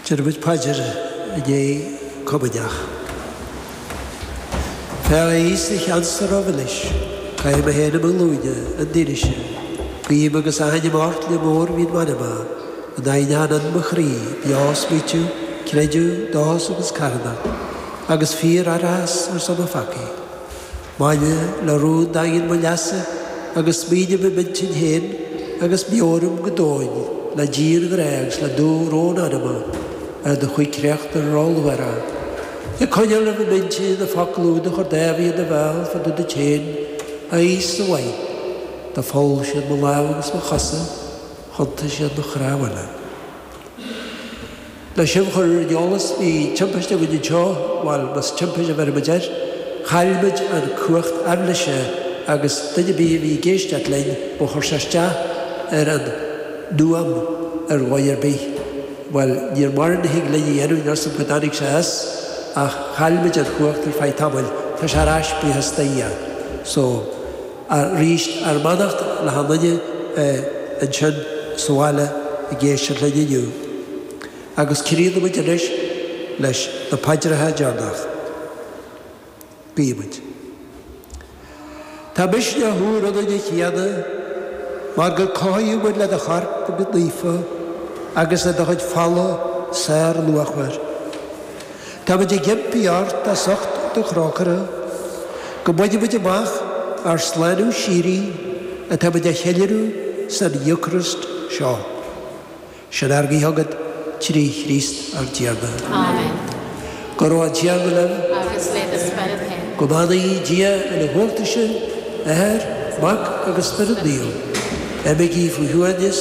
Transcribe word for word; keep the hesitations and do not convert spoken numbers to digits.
Déarfaimid paidir i ndiaidh comaoineach. Féach a Íosa cheansa rómhilis, caithfidh mé féin i mo ghlúine, an duine sin. Guím agus aithním ort le mórmhian m'anama, an aithneán in mo chroí, beo smaoitiú, creideamh, dóchas agus carthanacht, agus fíor-aithreachas ar son mo pheacaí. Maille le rún daingean mo leasa agus smaoiním i m'intinn féin agus meabhraím go domhain le dianghrá agus le dúbhrón anama ar do choincréacht róluachmhar. Ag coinneáil roimh m'intinn na focail úd a chuir Dáiví ina bhéal fá dtaobh duit féin, a Íosa mhaith, do pholl siad mo lámha agus mo chosa, thiontaigh siad mo chrábhaile. Le sibh a chur ar an eolas, bhí timpiste againn anseo, bhuel, más timpiste a bheirimid air, chaill muid an cumhacht aibhléise agus duine ar bith a bhí ag éisteacht linn, ba chuir sé isteach ar an fhuaim ar dhóigh ar bith. Bhuel, níor mórán a thig linn a dhéanamh, níl a fhios agam go dtáinig sé as, ach chaill muid an chumhacht ar feadh tamaill, tá sé ar ais buíochas do Dhia. So, arís, ár mbeannacht le hachan duine ansin sa bhaile ag éisteacht linn inniu. Agus críochnóimid anois leis na paidreacha deireanach. Guímid. Tá misneach úr ionainn a Thiarna, mar gur cothaíodh muid le do chorp go naofa agus le do chuid fola sárluachmhar. Táimid ag impí ort as ucht do thrócaire, go mbainfimid amach ár slánú síoraí atáimid a cheiliúradh san Eocairist seo. Sin ár nguí chugat trí Chríost ár dTiarna. Amen. Go raibh an Tiarna libh. Agus le do spiorad féin. Go mbeannaí Dia uilechumhachtach sibh, Athair, Mac agus Spiorad Naomh. Imígí faoi shuaimhneas